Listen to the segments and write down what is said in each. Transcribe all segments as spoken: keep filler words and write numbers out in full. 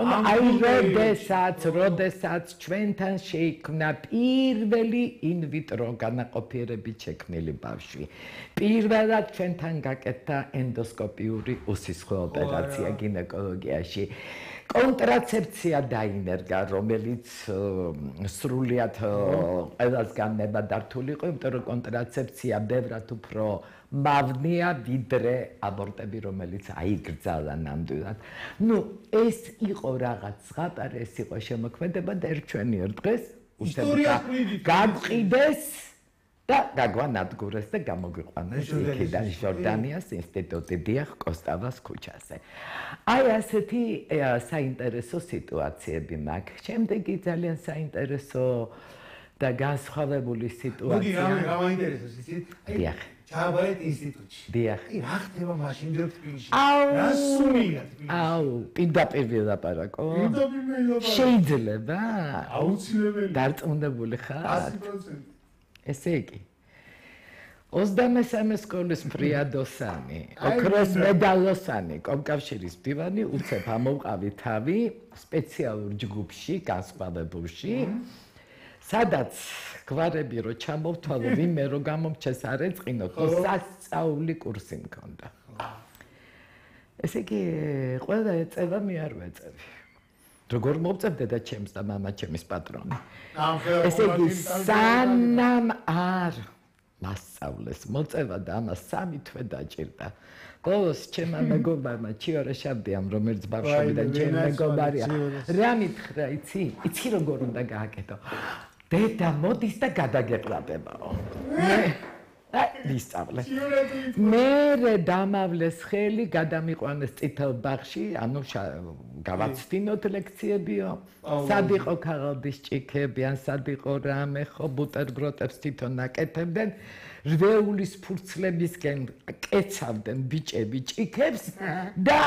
აი როდესაც, როდესაც ჩვენთან შეიქმნა პირველი ინვიტრო განაყოფიერებით შექმნილი ბავშვი. პირველად ჩვენთან გაკეთდა ენდოსკოპიური უსისხლო ოპერაცია გინეკოლოგიაში. კონტრაცეფცია დაინერგა, რომელიც სრულიად ყველასგან ნებადართული იყო, იმიტომ რომ კონტრაცეფცია ბევრად უფრო მავნეა ვიდრე აბორტები, რომელიც აიგრძალა ნამდვილად. ნუ ეს იყო რაღაც ზღაპარი, ეს იყო შემოქმედება და ერჩვენიერ დღეს გაგვყიდეს და გაგვანადგურეს და გამოგვიყვანეს იქიდან ჟორდანიას ინსტიტუტი დიახ კოსტავას ქუჩაზე. აი ასეთი საინტერესო სიტუაციები მაქვს. შემდეგი ძალიან საინტერესო და განსხვავებული სიტუაცია. მოდი რა მაინტერესებს იცით? დიახ. ჩავაბარეთ ინსტიტუტში. დიახ. აი რა ხდება მაშინ ჯერ თბილისში? რა სუნია თბილისში? აუ, პირდაპირ ვილაპარაკო. პირდაპირ ვილაპარაკო. შეიძლება? აუცილებელი. დარწმუნებული ხარ? ათი პროცენტი. ესე იგი. ოცდამესამე სკოლის ფრიადოსანი, ოქროს მედალოსანი, კომკავშირის მდივანი, უცებ ამოვყავი თავი სპეციალურ ჯგუფში, განსხვავებულში, სადაც გვარები რო ჩამოვთვალო, ვინმე რო გამომჩეს არ ეწყინო, ხო სასწაული კურსი მქონდა. ესე იგი, ყველა ეწევა მე არ ვეწევი. როგორ მოვწევდე და ჩემს და მამა ჩემის პატრონი. ესე იგი, სანამ არ მასწავლეს მოწევა და ამას სამი თვე დაჭირდა. ბოლოს ჩემმა მეგობარმა ჩიორე შაბდიამ, რომელიც ბავშვობიდან ჩემი მეგობარია, რა მითხრა, იცი? იცი როგორ უნდა გააკეთო? დედა მოდის და გადაგეყრაბებაო. მე აი ვისწავლე. მე დამავლეს ხელი, გადამიყვანეს წითელ ბაღში, ანუ გავაცდინოთ ლექციებიო. სად იყო ქაღალდის ჭიქები, ან სად იყო რამე, ხო ბუტერბროტებს თვითონ აკეთებდნენ. რვეულის ფურცლებისკენ კეცავდნენ ბიჭები ჭიქებს და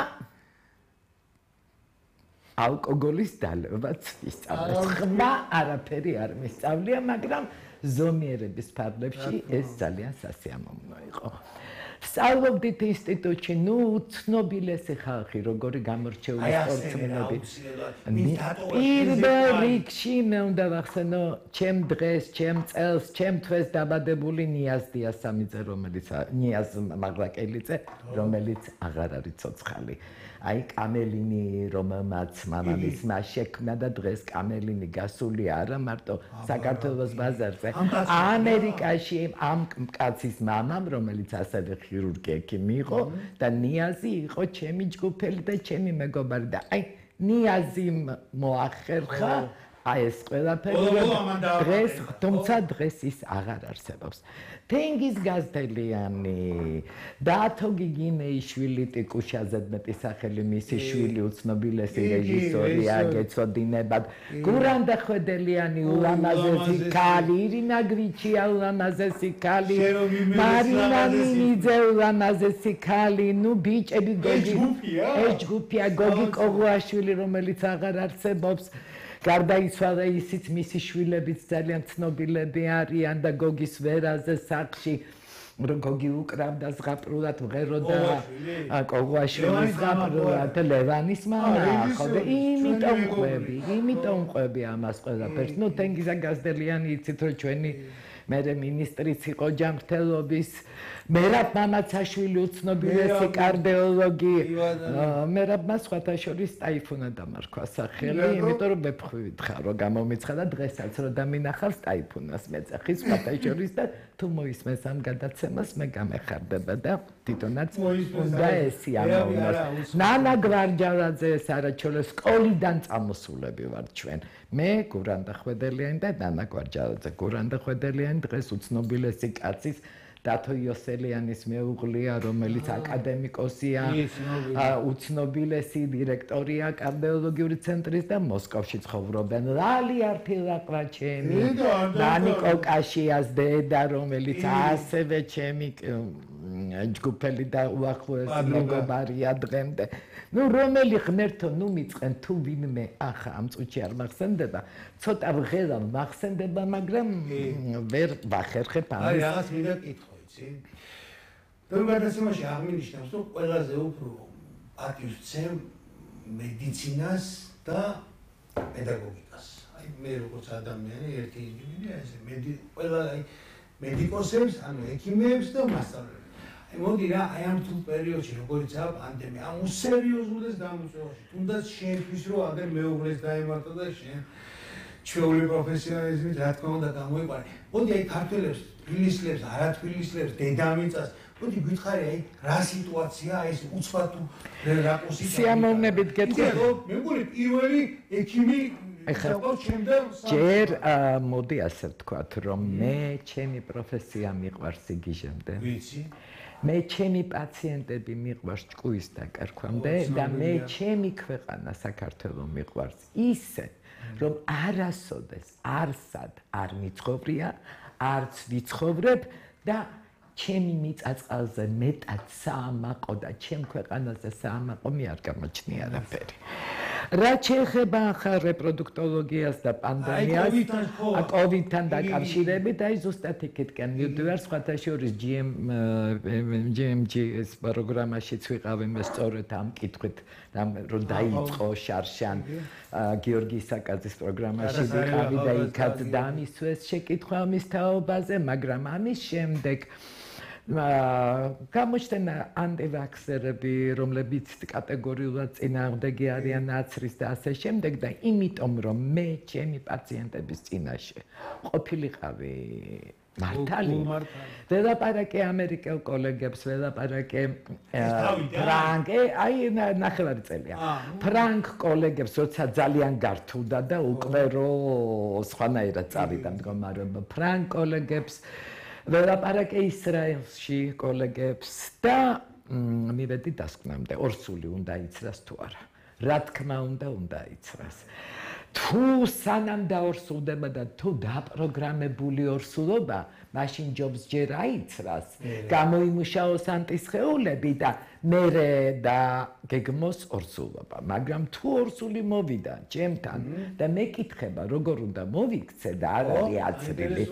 ალკოგოლის დალევაც ვისწავლეს. ხმა არაფერი არ მისწავლია, მაგრამ ზომიერების ფარგლებში ეს ძალიან სასიამოვნო იყო. ვსწავლობდით ინსტიტუტში, ნუ უცნობილესი ხალხი, როგორი გამორჩეული სპორტსმენები. პირველ რიგში მე უნდა ვახსენო, ჩემ დღეს, ჩემ წელს, ჩემ თვეს დაბადებული ნიაზ დიასამიძე, რომელიც ნიაზ მაღლაკელიძე, რომელიც აღარ არის ცოცხალი. აი კამელინი, რომელმაც მამამისმა შექმნა და დღეს კამელინი გასული არა მარტო საქართველოს ბაზარზე. ამერიკაში ამ კაცის მამამ, რომელიც ასევე ქირურგი ექიმი იყო და ნიაზი იყო ჩემი ჯგუფელი და ჩემი მეგობარი და აი ნიაზი მოახერხა აი ეს ყველაფერი დღეს, თუმცა დღეს ის აღარ არსებობს. თენგიზ გაზდელიანი, დათო გიგინეიშვილი ტიკუშაზე მეტი სახელი მისი შვილი უცნობილესი რეჟისორია, გეცოდინებათ. გურანდა ხვედელიანი ულამაზესი ქალი, ირინა გვიჩია ულამაზესი ქალი, მარინა მინიძე ულამაზესი ქალი, ნუ ბიჭები გოგი. ეს ჯგუფია გოგი კოღუაშვილი, რომელიც აღარ არსებობს. გარდაიცვალა ისიც მისი შვილებიც ძალიან ცნობილები არიან და გოგის ვერაზე სახში რომ გოგი უკრავდა ზღაპრულად მღეროდა კოღუაშვილი ზღაპრულად ლევანის მამა ხო და იმიტომ ყვები იმიტომ ყვები ამას ყველაფერს. ნუ თენგიზა გაზდელიანი იცით რომ ჩვენი მერე მინისტრიც იყო ჯანმრთელობის, მერაბ მამაცაშვილი უცნობილესი კარდიოლოგი, მერაბმა სხვათა შორის ტაიფუნა დამარქვა სახელი, იმიტომ რომ მეფხვივით ხარ, რომ გამომიცხადა დღესაც რომ დამინახავს ტაიფუნას მეძახი სხვათა შორის და თუ მოისმენს ამ გადაცემას მე გამეხარდება და თვითონაც უნდა ესიამოვნოს. ნანა გვარჯარაძე ეს არაჩოლეს სკოლიდან წამოსულები ვართ ჩვენ. მე გურანდა ხვედელიანი და ნანა გვარჯარაძე. გურანდა ხვედელიანი დღეს უცნობილესი კაცის დათო იოსელიანის მეუღლეა, რომელიც აკადემიკოსია, უცნობილესი დირექტორია კარდიოლოგიური ცენტრის და მოსკოვში ცხოვრობენ. ლალი არფილაყვა ჩემი, დანიკო კაშიას დედა, რომელიც ასევე ჩემი ჯგუფელი და უახლოესი მეგობარია დღემდე. ნუ რომელი ღმერთო ნუ მიწყენ თუ ვინმე ახლა ამ წუთში არ მახსენდება, ცოტა ვღელა მახსენდება, მაგრამ ვერ ვახერხებ ამას. აი რაღაც მინდა კითხო იცი. ბევრ გადაცემაში აღნიშნავს, რომ ყველაზე უფრო პატივს ვცემ მედიცინას და პედაგოგიკას. აი მე როგორც ადამიანი ერთი ინდივიდია ესე მედი ყველა აი მედიკოსებს, ანუ ექიმებს და მასწავლებლებს. აი მოდი რა, აი ამ თუ პერიოდში როგორიცაა პანდემია, ამ უსერიოზულეს გამოწვევაში, თუნდაც შენთვის რომ აგერ მეუღლეს დაემართა და შენ ჩვეული პროფესიონალიზმით რა თქმა უნდა გამოიყარე. მოდი აი ქართველებს, თბილისლებს, არათბილისლებს, დედამიწას, მოდი გითხარი აი რა სიტუაცია, ეს უცბად თუ რა პოსიტა. სიამოვნებით გეტყვი. მე მგონი პირველი ექიმი ჯერ მოდი ასე ვთქვათ, რომ მე ჩემი პროფესია მიყვარს იგიჟემდე. ვიცი. მე ჩემი პაციენტები მიყვარს ჭკუის დაკარქვამდე და მე ჩემი ქვეყანა საქართველო მიყვარს ისე, რომ არასოდეს არსად არ მიცხოვრია, არც ვიცხოვრებ და ჩემი მიწაწყალზე მეტად საამაყო და ჩემ ქვეყანაზე საამაყო მე არ გამოჩნია არაფერი. რა შეეხება ახალ რეპროდუქტოლოგიას და პანდემიას, კოვიდთან დაკავშირებით, აი ზუსტად იქითკენ მივდივარ, სხვათა შორის ჯი ემ ჯი-ის პროგრამაშიც ვიყავი მე სწორედ ამ კითხვით, რომ დაიწყო შარშან გიორგი ისაკაძის პროგრამაში ვიყავი და იქაც დამისვეს შეკითხვა მის თაობაზე, მაგრამ ამის შემდეგ გამოჩნდა ანტივაქსერები, რომლებიც კატეგორიულად წინააღმდეგი არიან ნაცრის და ასე შემდეგ და იმიტომ რომ მე ჩემი პაციენტების წინაშე ყოფილიყავი მართალი ველაპარაკე ამერიკელ კოლეგებს, ველაპარაკე ფრანგ, აი ნახევარი წელია. ფრანგ კოლეგებს როცა ძალიან გართულდა და უკვე რო სხვანაირად წავიდა მდგომარეობა, ფრანგ კოლეგებს ველაპარაკე ისრაელში კოლეგებს და მივედი დასკვნამდე, ორსული უნდა იცრას თუ არა. რა თქმა უნდა, უნდა იცრას. თუ სანამ დაორსულდება და თუ დაპროგრამებული ორსულობა, მაშინ ჯობს ჯერ აიცრას, გამოიმუშაოს ანტისხეულები და მერე და გეგმოს ორსულობა. მაგრამ თუ ორსული მოვიდა ჩემთან და მეკითხება, როგორ უნდა მოვიქცე და არ არის აცრილი.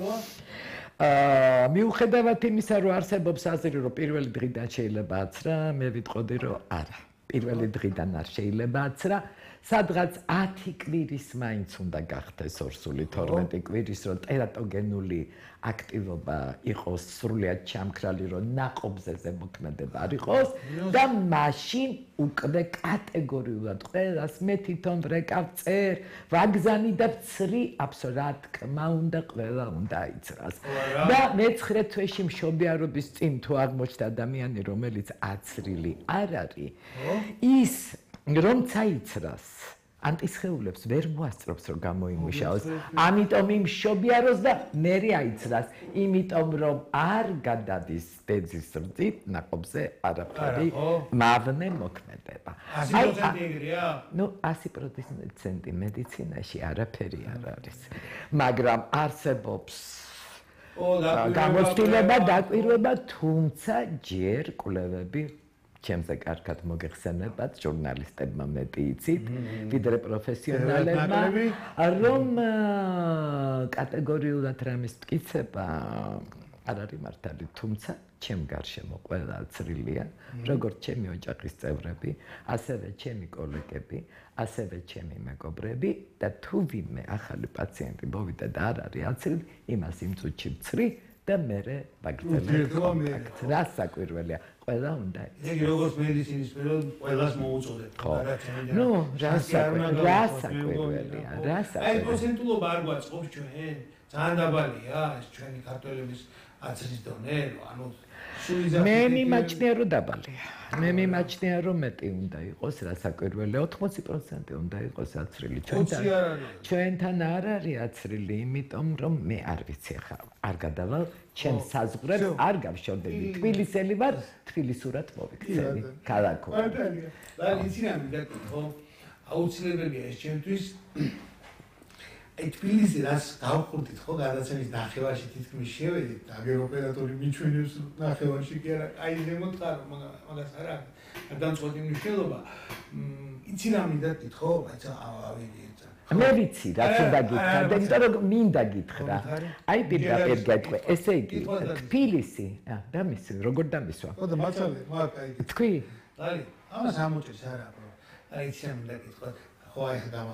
მიუხედავად იმისა, რომ არსებობს აზრი, რომ პირველი დღიდან შეიძლება აცრა, მე ვიტყოდი, რომ არა. პირველი დღიდან არ შეიძლება აცრა, სადღაც ათი კვირის მაინც უნდა გახდეს ორსული, თორმეტი კვირის, რომ ტერატოგენული აქტივობა იყოს სრულიად ჩამქრალი, რომ ნაყოფზე ზემოქმედება არ იყოს და მაშინ უკვე კატეგორიულად ყველას მე თვითონ ვრეკავ წერ, ვაგზანი და ვცრი, აბსოლუტურად რა თქმა უნდა, ყველა უნდა იცრას. და მეცხრე თვეში მშობიარობის წინ თუ აღმოჩნდა ადამიანი, რომელიც აცრილი არ არის, ის რომცა იცრას, ანტისხეულებს ვერ მოასწრობს, რომ გამოიმუშაოს. ამიტომ იმ მშობიაროს და მერე აიცრას, იმიტომ რომ არ გადადის დეძის რძით ნაყოფზე არაფერი მავნე მოქმედება. ასი პროცენტი ეგრეა? ნუ ასი პროცენტი მედიცინაში არაფერი არ არის. მაგრამ არსებობს გამოცდილება, დაკვირვება, თუმცა ჯერ კვლევები ჩემზე კარგად მოგეხსენებათ, ჟურნალისტებმა მეტი იცით, ვიდრე პროფესიონალებმა, რომ კატეგორიულად რამის მტკიცება არ არის მართალი, თუმცა ჩემ გარშემო ყველა აცრილია, როგორც ჩემი ოჯახის წევრები, ასევე ჩემი კოლეგები, ასევე ჩემი მეგობრები და თუ ვინმე ახალი პაციენტი მოვიდა და არ არის აცრილი, იმას იმ წუთში ვცრი და მერე ვაგრძელებ კონტაქტს. რა საკვირველია, ყველა უნდა იცის. ეგ როგორც მედიცინის სფერო ყველას მოუწოდეთ. ნუ რა საკვირველია, რა საკვირველია. აი პროცენტულობა არ გვაწყობს ჩვენ, ძალიან დაბალია ეს ჩვენი ქართველების აცრის დონე, ანუ მე მიმაჩნია რომ დაბალია. მე მიმაჩნია რომ მეტი უნდა იყოს, რა საკვირველია, ოთხმოცი პროცენტი უნდა იყოს აცრილი. ჩვენთან ჩვენთან არ არის აცრილი, იმიტომ რომ მე არ ვიცი ხა, არ გადავალ ჩემ საზღვრებს, არ გავშორდები. თბილისელი ვარ, თბილისურად მოვიქცევი, ქალაქო. და იცი რა მიგაკითხო, აუცილებელია ეს ჩემთვის აი თბილისი რას გავხურდით ხო გადაცემის ნახევარში თითქმის შევედით და აგერ ოპერატორი მიჩვენებს ნახევარში კი არა აი ზემოთხარო მაგას არა გადამწყვეტი მნიშვნელობა იცი რა მინდა გითხო აი ავიდი მე ვიცი რაც უნდა გითხრა და იმიტომ რომ მინდა გითხრა აი პირდაპირ გეტყვი ესე იგი თბილისი და მისი როგორ დამისვა ხო და მართალია მაგ აი თქვი აი ამას ამოჭრის არა აი იცი რა მინდა გითხო ხო აი გამახსოვს